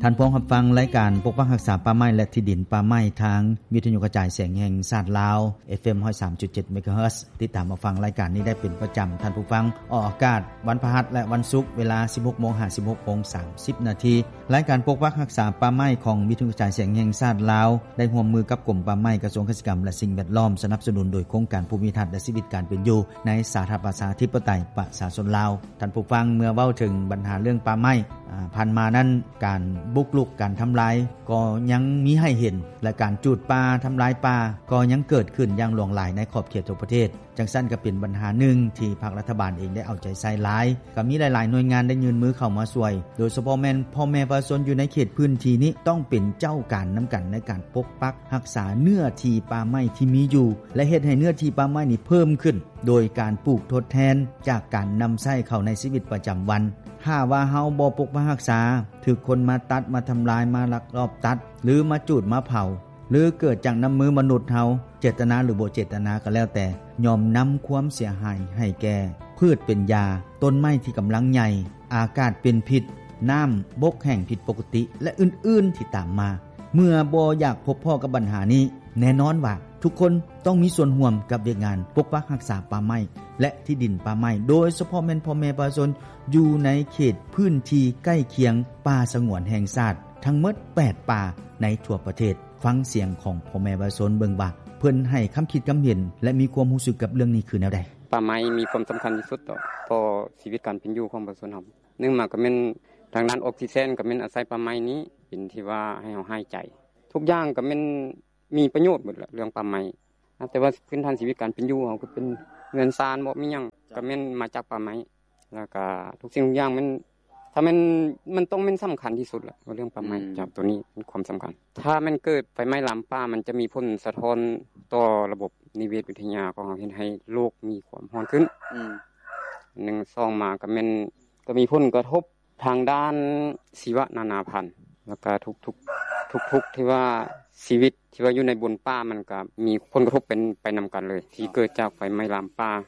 ທ່ານພວມຮັບຟັງລາຍການປົກປັກຮັກສາປ່າໄມ້ ແລະ ທີ່ດິນປ່າໄມ້ ທາງວິທະຍຸກະຈາຍສຽງແຫ່ງຊາດລາວ ເອັຟເອັມ ຮ້ອຍສາມຈຸດເຈັດ ເມກາເຮີດ. ຕິດຕາມຮັບຟັງລາຍການນີ້ໄດ້ເປັນປະຈຳ. ທ່ານຜູ້ຟັງ, ອອກອາກາດວັນພະຫັດ ແລະ ວັນສຸກ ເວລາ ສິບຫົກໂມງ ຫາ ສິບຫົກໂມງ ສາມສິບນາທີ. ລາຍການປົກປັກຮັກສາປ່າໄມ້ຂອງວິທະຍຸກະຈາຍສຽງແຫ່ງຊາດລາວ ໄດ້ຮ່ວມມືກັບກົມປ່າໄມ້, ກະຊວງກະສິກຳ ແລະ ສິ່ງແວດລ້ອມ, ສະໜັບສະໜູນໂດຍໂຄງການພູມິທັດ ແລະ ຊີວິດການເປັນຢູ່ໃນສາທາລະນະລັດ ປະຊາທິປະໄຕ ປະຊາຊົນລາວ. ທ່ານຜູ້ຟັງ, ເມື່ອເວົ້າເຖິງບັນຫາເລື່ອງປ່າໄມ້, ອາ, ຜ່ານມານັ້ນ ການບຸກລຸກ, ການທຳລາຍກໍຍັງມີໃຫ້ເຫັນ ແລະ ການຈູດປ່າ, ທຳລາຍປ່າກໍຍັງເກີດຂຶ້ນຢ່າງຫຼວງຫຼາຍໃນຂອບເຂດທົ່ວປະເທດ. ຈັ່ງຊັ້ນກໍເປັນບັນຫາໜຶ່ງທີ່ພາກລັດຖະບານເອງໄດ້ເອົາໃຈໃສ່ຫຼາຍ, ກໍມີຫຼາຍໆໜ່ວຍງານໄດ້ຍື່ນມືເຂົ້າມາຊ່ວຍ, ໂດຍສະເພາະແມ່ນພໍ່ແມ່ປະຊາຊົນຢູ່ໃນເຂດພື້ນທີ່ນີ້ ຕ້ອງເປັນເຈົ້າການນຳກັນໃນການປົກປັກຮັກສາເນື້ອທີ່ປ່າໄມ້ທີ່ມີຢູ່ ແລະ ເຮັດໃຫ້ເນື້ອທີ່ປ່າໄມ້ນີ້ເພີ່ມຂຶ້ນ ໂດຍການປູກທົດແທນຈາກການນຳໃຊ້ເຂົ້າໃນຊີວິດປະຈຳວັນ. ຖ້າວ່າເຮົາບໍ່ປົກປັກຮັກສາ, ຖືກຄົນມາຕັດ, ມາທຳລາຍ, ມາລັກລອບຕັດ ຫຼື ມາຈູດ, ມາເຜົາ ຫຼື ເກີດຈາກນ້ຳມືມະນຸດເຮົາ, ເຈດຕະນາ ຫຼື ບໍ່ເຈດຕະນາກໍແລ້ວແຕ່, ຍ່ອມນຳຄວາມເສຍຫາຍໃຫ້ແກ່ພືດເປັນຢາ, ຕົ້ນໄມ້ທີ່ກຳລັງໃຫຍ່, ອາກາດເປັນພິດ, ນ້ຳບົກແຫ້ງຜິດປົກກະຕິ ແລະ ອື່ນໆທີ່ຕາມມາ. ເມື່ອບໍ່ຢາກພົບພໍ້ກັບບັນຫານີ້, ແນ່ນອນວ່າທຸກຄົນຕ້ອງມີສ່ວນຮ່ວມກັບວຽກງານປົກປັກຮັກສາປ່າໄມ້ ແລະ ທີ່ດິນປ່າໄມ້, ໂດຍສະເພາະແມ່ນພໍ່ແມ່ປະຊາຊົນຢູ່ໃນເຂດພື້ນທີ່ໃກ້ຄຽງປ່າສະຫງວນແຫ່ງຊາດທັງໝົດແປດປ່າໃນທົ່ວປະເທດ. ຟັງສຽງຂອງພໍ່ແມ່ປະຊາຊົນເບິ່ງວ່າ ເພິ່ນໃຫ້ຄຳຄິດຄຳເຫັນ ແລະ ມີຄວາມຮູ້ສຶກກັບເລື່ອງນີ້ຄືແນວໃດ. ປ່າໄມ້ມີຄວາມສຳຄັນທີ່ສຸດຕໍ່ ຕໍ່ຊີວິດການເປັນຢູ່ຂອງປະຊາຊົນເຮົາ. ໜຶ່ງມາກໍແມ່ນທາງດ້ານອອກຊີເຊັນ ກໍແມ່ນອາໄສປ່າໄມ້ນີ້ເປັນທີ່ວ່າໃຫ້ເຮົາຫາຍໃຈ. ທຸກຢ່າງກໍແມ່ນມີປະໂຫຍດໝົດແຫຼະ ເລື່ອງປ່າໄມ້. ແຕ່ວ່າພື້ນຖານຊີວິດການເປັນຢູ່ເຮົາ ກໍເປັນເຮືອນຊານບໍ ມີຫຍັງ ກໍແມ່ນມາຈາກປ່າໄມ້. ແລ້ວກະທຸກສິ່ງທຸກຢ່າງແມ່ນ ຖ້າແມ່ນ ມັນຕ້ອງແມ່ນສຳຄັນທີ່ສຸດລະ ວ່າເລື່ອງປ່າໄມ້. ອືມ ຈາກໂຕນີ້ເປັນຄວາມສຳຄັນ. ຖ້າແມ່ນເກີດໄຟໄໝ້ລາມປ່າ ມັນຈະມີຜົນສະທ້ອນຕໍ່ລະບົບນິເວດວິທະຍາຂອງເຮົາ ເຮັດໃຫ້ໂລກມີຄວາມຮ້ອນຂຶ້ນ. ອືມ ໜຶ່ງ ສອງມາກໍແມ່ນ ກໍມີຜົນກະທົບທາງດ້ານຊີວະນານາພັນ ແລ້ວກະທຸກໆ ທຸກໆ ທີ່ວ່າຊີວິດ ທີ່ວ່າຢູ່ໃນບົນປ່າ ມັນກະມີຜົນກະທົບເປັນໄປນຳກັນເລີຍ ທີ່ເກີດຈາກໄຟໄໝ້ລາມປ່າ.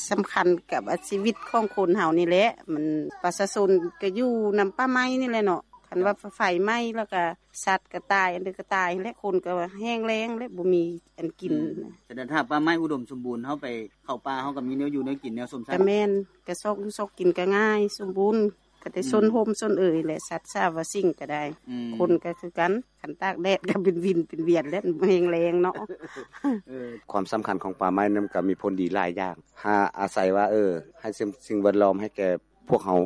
ສຳຄັນກັບວ່າຊີວິດຂອງຄົນເຮົານີ້ແຫຼະ ມັນປະຊາຊົນກະຢູ່ນຳປ່າໄມ້ນີ້ແຫຼະເນາະ. ຄັນວ່າໄຟໄໝ້ແລ້ວກະສັດກະຕາຍ ອັນໃດກະຕາຍແຫຼະ ຄົນກະແຫ້ງແລ້ງແຫຼະ ບໍ່ມີອັນກິນ. ອືມ ສະນັ້ນຖ້າປ່າໄມ້ອຸດົມສົມບູນ ເຮົາໄປເຂົ້າປ່າ ເຮົາກະມີແນວຢູ່ແນວກິນ ແນວຊົມໃຊ້. ກະແມ່ນ ກະຊອກຢູ່ຊອກກິນກະງ່າຍ ສົມບູນ. ກໍໄດ້ ອືມ ຊົນຮົ່ມຊົນເອີຍແຫຼະ ສັດສາວາສິ່ງກໍໄດ້. ອືມ ຄົນກໍຄືກັນ ຄັນຕາກແດດກໍເປັນວິນເປັນວຽນແຫຼະ ແຮງແລງເນາະ. ເອີ ຄວາມສຳຄັນຂອງປ່າໄມ້ນັ້ນກໍມີຜົນດີຫຼາຍຢ່າງ ຫາອາໄສວ່າ ເອີ ໃຫ້ສິ່ງ ສິ່ງແວດລ້ອມໃຫ້ແກ່ພວກເຮົາ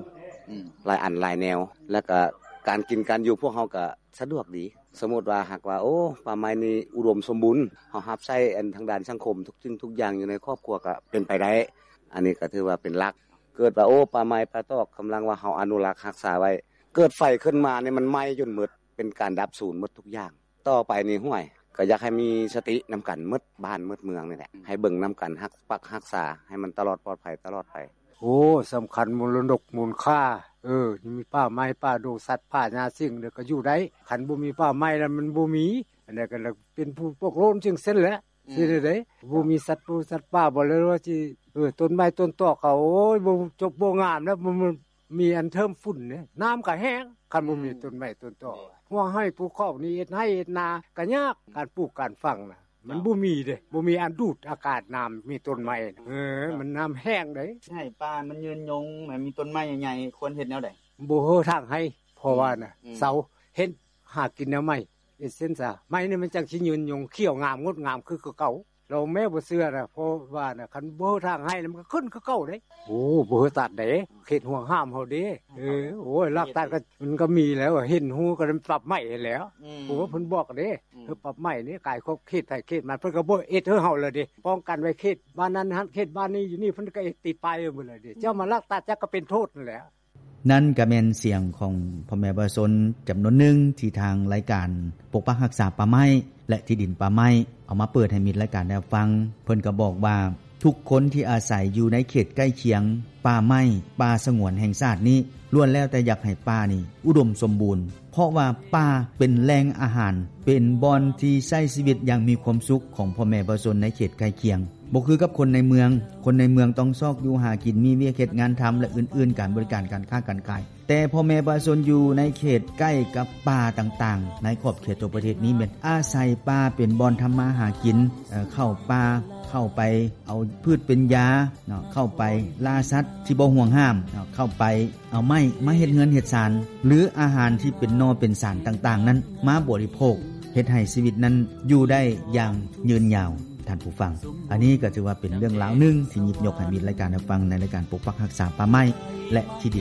ອືມ ຫຼາຍອັນຫຼາຍແນວ ແລ້ວກໍການກິນການຢູ່ພວກເຮົາກໍສະດວກດີ. ສົມມຸດວ່າຫາກວ່າ ໂອ້ ປ່າໄມ້ນີ້ອຸດົມສົມບູນ ເຮົາຮັບໃຊ້ອັນທາງດ້ານສັງຄົມ ທຸກສິ່ງທຸກຢ່າງຢູ່ໃນຄອບຄົວກໍເປັນໄປໄດ້. ອັນນີ້ກໍຖືວ່າເປັນຫຼັກ. ເກີດວ່າ ໂອ້ ປ່າໄມ້ປ່າຕອກ ກຳລັງວ່າເຮົາອະນຸລັກຮັກສາໄວ້ ເກີດໄຟຂຶ້ນມານີ້ ມັນໄໝ້ຈົນໝົດ ເປັນການດັບສູນໝົດທຸກຢ່າງ. ຕໍ່ໄປນີ້ ຫ້ວຍ ກໍຢາກໃຫ້ມີສະຕິນຳກັນໝົດບ້ານໝົດເມືອງນີ້ແຫຼະ ໃຫ້ເບິ່ງນຳກັນ ຮັກປັກຮັກສາໃຫ້ມັນຕະຫຼອດປອດໄພຕະຫຼອດໄປ. ໂອ້ ສຳຄັນ ມໍລະດົກມູນຄ່າ ເອີ ມີປ່າໄມ້ປ່າດົງ ສັດປ່າຫຍ້າສິ່ງ ແລ້ວກໍຢູ່ໄດ້. ຄັນບໍ່ມີປ່າໄມ້ແລ້ວ ມັນບໍ່ມີ ອັນໃດກໍເປັນຜູ້ປອກໂລນຈັ່ງຊັ້ນແຫຼະ. ອືມ ຊິໄດ້ໃດ ບໍ່ມີສັດປູສັດປ່າບໍ່ ແລ້ວວ່າຊິ ເອີ ຕົ້ນໄມ້ຕົ້ນຕອກເຂົາ ໂອ້ຍ ບໍ່ຈົບບໍ່ງາມແລ້ວ ມັນມີອັນເທີມຝຸ່ນເດ້ ນ້ຳກໍແຫ້ງ ຄັນບໍ່ມີ ອືມ ຕົ້ນໄມ້ຕົ້ນຕອກ. ແມ່ນ ຫົວໄຮ່ພູເຂົານີ້ ເຮັດໄຮ່ເຮັດນາກໍຍາກ ອືມ ການປູກການຝັງນະ ມັນ ເຈົ້າ ບໍ່ມີເດ້ ບໍ່ມີອັນດູດອາກາດນ້ຳ ມີຕົ້ນໄມ້ນະ. ເອີ ເຈົ້າ ມັນນ້ຳແຫ້ງເດ້. ໃຫ້ປ່າມັນຍືນຍົງ ໃຫ້ມີຕົ້ນໄມ້ໃຫຍ່ໆ ຄວນເຮັດແນວໃດ? ບໍ່ເຮີ້ທາງໄຮ່ ເພາະວ່ານະ ອືມ ເສົາ ເຮັດຫາກິນແນວໃໝ່ ເຮັດເສັ້ນສາ ໄມ້ນີ້ມັນຈັ່ງຊິຍືນຍົງ ຂຽວງາມ ງົດງາມຄື ຄືເກົ່າ. ລອງແມ້ ບໍ່ເຊື່ອນະ ເພາະວ່ານະ ຄັນບໍ່ເຮີ້ທາງໄຮ່ ມັນກໍຂຶ້ນຄືເກົ່າເດ້. ໂອ້ ບໍ່ເຮີ້ຕັດເດ້ ເຂດຫ່ວງຫ້າມເຮົາເດ້. ເອີ ໂອ້ຍ ລັກຕັດກໍ ມັນກໍມີແລ້ວ ເຫັນຮູ້ກໍໄດ້ປັບໃໝໃຫ້ແລ້ວ. ອືມ ໂອ້ ເພິ່ນບອກເດ້ ອືມ ເອີ ປັບໃໝນີ້ ກາຍຂອບເຂດໃຜເຂດມັນ ເພິ່ນກໍບໍ່ເຮັດໃຫ້ເຮົາແລ້ວເດ້ ປ້ອງກັນໄວ້ເຂດບ້ານນັ້ນ ເຂດບ້ານນີ້ ຢູ່ນີ້ ເພິ່ນກໍເຮັດຕິດປ້າຍໄວ້ໝົດແລ້ວເດ້. ເຈົ້າມາລັກຕັດ ຈັກກໍເປັນໂທດນັ້ນແຫຼະ. ນັ້ນກໍແມ່ນສຽງຂອງພໍ່ແມ່ປະຊາຊົນຈຳນວນໜຶ່ງ ທີ່ທາງລາຍການປົກປັກຮັກສາປ່າໄມ້ ແລະ ທີ່ດິນປ່າໄມ້ ເອົາມາເປີດໃຫ້ມິດລາຍການໄດ້ຮັບຟັງ. ເພິ່ນກໍບອກວ່າ ທຸກຄົນທີ່ອາໄສຢູ່ໃນເຂດໃກ້ຄຽງປ່າໄມ້ ປ່າສະຫງວນແຫ່ງຊາດນີ້ ລ້ວນແລ້ວແຕ່ຢາກໃຫ້ປ່ານີ້ອຸດົມສົມບູນ ເພາະວ່າປ່າເປັນແຫຼ່ງອາຫານ ເປັນບ່ອນທີ່ໃຊ້ຊີວິດຢ່າງມີຄວາມສຸກຂອງພໍ່ແມ່ປະຊາຊົນໃນເຂດໃກ້ຄຽງ. ບໍ່ຄືກັບຄົນໃນເມືອງ. ຄົນໃນເມືອງຕ້ອງຊອກຢູ່ຫາກິນ, ມີວຽກເຮັດງານທຳ ແລະ ອື່ນໆ, ການບໍລິການ, ການຄ້າການຂາຍ. ແຕ່ພໍ່ແມ່ປະຊາຊົນຢູ່ໃນເຂດໃກ້ກັບປ່າຕ່າງໆ ໃນຂອບເຂດທົ່ວປະເທດນີ້ ແມ່ນອາໄສປ່າເປັນບ່ອນທຳມາຫາກິນ, ເອີ ເຂົ້າປ່າ, ເຂົ້າໄປເອົາພືດເປັນຢາເນາະ, ເຂົ້າໄປລ່າສັດທີ່ບໍ່ຫ່ວງຫ້າມເນາະ, ເຂົ້າໄປ ເອົາໄມ້ມາເຮັດເຮືອນເຮັດຊານ ຫຼື ອາຫານທີ່ເປັນໜໍ່ເປັນສານຕ່າງໆນັ້ນມາບໍລິໂພກ, ເຮັດໃຫ້ຊີວິດນັ້ນຢູ່ໄດ້ຢ່າງຍືນຍາວ, ທ່ານຜູ້ຟັງ. ອັນນີ້ກໍຖືວ່າເປັນເລື່ອງລາວໜຶ່ງທີ່ຫຍິບຍົກໃຫ້ມີລາຍການຮັບຟັງໃນລາຍການປົກປັກຮັກສາປ່າໄມ້ ແລະ ທີ່ດິນ